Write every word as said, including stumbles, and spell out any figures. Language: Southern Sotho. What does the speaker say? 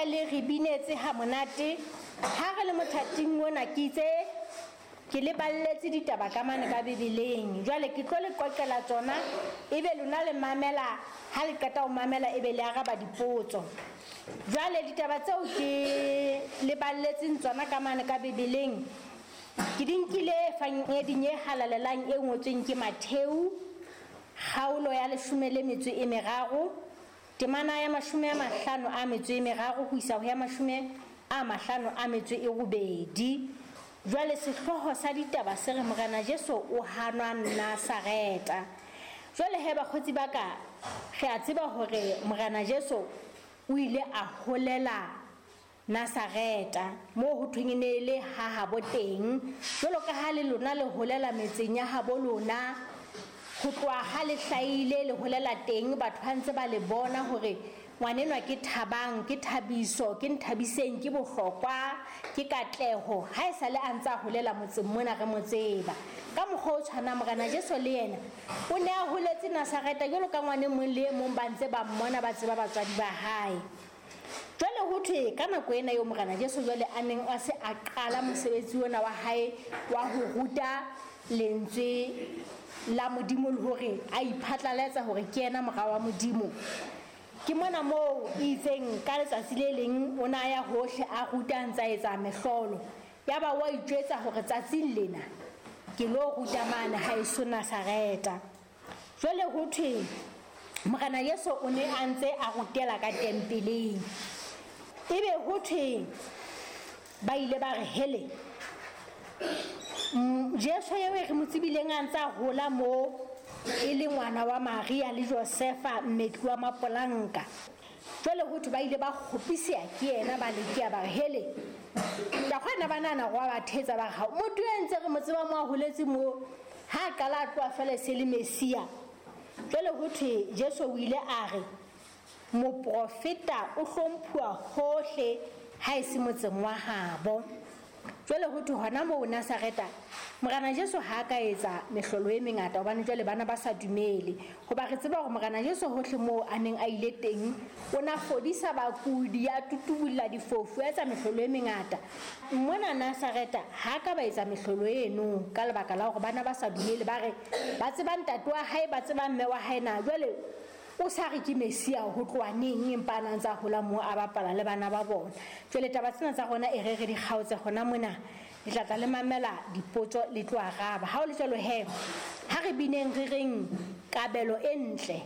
le re binetse ha monate. Ha re le mothating ona ke itse ke le balletse ditaba ka mane ka Bibeleng. Jwale ke tlo le qoqela tsona, ebe lona le mamela, ha le qeta ho mamela ebe le araba dipotso. Jwale ditaba tseo ke le balletseng tsona ka mane ka Bibeleng ke di nkile Evangeding e halalelang e ngotsweng ke Matheu, kgaolo ya leshome le metso e meraro, temana ya mashome a mahlano a metso e meraro ho isa ho ya mashome a mahlano a metso e robedi. Jwale sehlooho sa ditaba se re Morena Jesu o hanwa Nazareta. Jwale he bakgotsi ba ka, re a tseba hore Morena Jesu o ile a holela Nazareta, moo ho thweng e ne le ha habo teng. Jwalo ka ha le lona le holela metseng ya habo lona, ho tloha ha le hlahile le holela teng, batho ba ntse ba le bona hore ngwanenwa ke Thabang, ke Thabiso, ke Nthabiseng, ke Bohlokwa, ke Katleho. Ha e sale a ntse a holela motseng mona re mo tseba. Ka mokgwa o tshwanang Morena Jesu le yena o ne a holetse Nazareta jwalo ka ngwane mong le e mong, ba ntse ba mmona, ba tseba batswadi ba hae. Jwale ho thwe ka nako ena eo Morena Jesu jwale a neng a se a qala mosebetsi ona wa hae wa ho ruta lentswe la Modimo le hore a iphatlalatsa hore ke yena mora wa Modimo. Ke mona moo e itseng ka letsatsi le leng o ne a ya hohle a ruta a ntse a etsa mehlolo. Yaba wa itjwetsa hore tsatsing lena ke lo ruta mane haeso Nazareta. Jwale ho thwe Morena Jesu o ne a ntse a rutela ka tempeleng. Ebe ho thwe ba ile ba re hele, mm, Jesu eo e re mo tsebileng a ntse a hola moo e le ngwana wa Maria le Josefa mmetli wa mapolanka. Jwale ho thwe ba ile ba kgopiseha ke yena, ba lekeha ba re hele, ka kgona ba nahana hore wa ba thetsa, ba re ha motho e ntse re mo tseba mo a holetse moo, ha a qala a tloha feela e se le Messia. Jwale ho thwe Jesu o ile a re moprofeta o hlomphuwa hohle ha e se motseng wa habo. Jwale ho thwe hona moo Nazareta Morena Jesu ha a ka etsa mehlolo e mengata, hobane jwale bana ba sa dumele. Hoba re tseba hore Morena Jesu hohle moo a neng a ile teng, o na fodisa bakudi, a tutubulla difofu, a etsa mehlolo e mengata. Mona Nazareta ha ka ba etsa mehlolo eno ka lebaka la hore bana ba sa dumele, ba re ba tseba ntate wa hae, ba tseba mme wa hae na. Jwale o sa re ke Messia ho tloha neng, empa a na ntse a hola moo a bapala le bana ba bona. Jwale taba tsena tsa rona e re re di kgaotse hona mona, le tla tla le mamela dipotso le tlo araba. Ha o le jwalo he, ha re bineng re reng kabelo e ntle.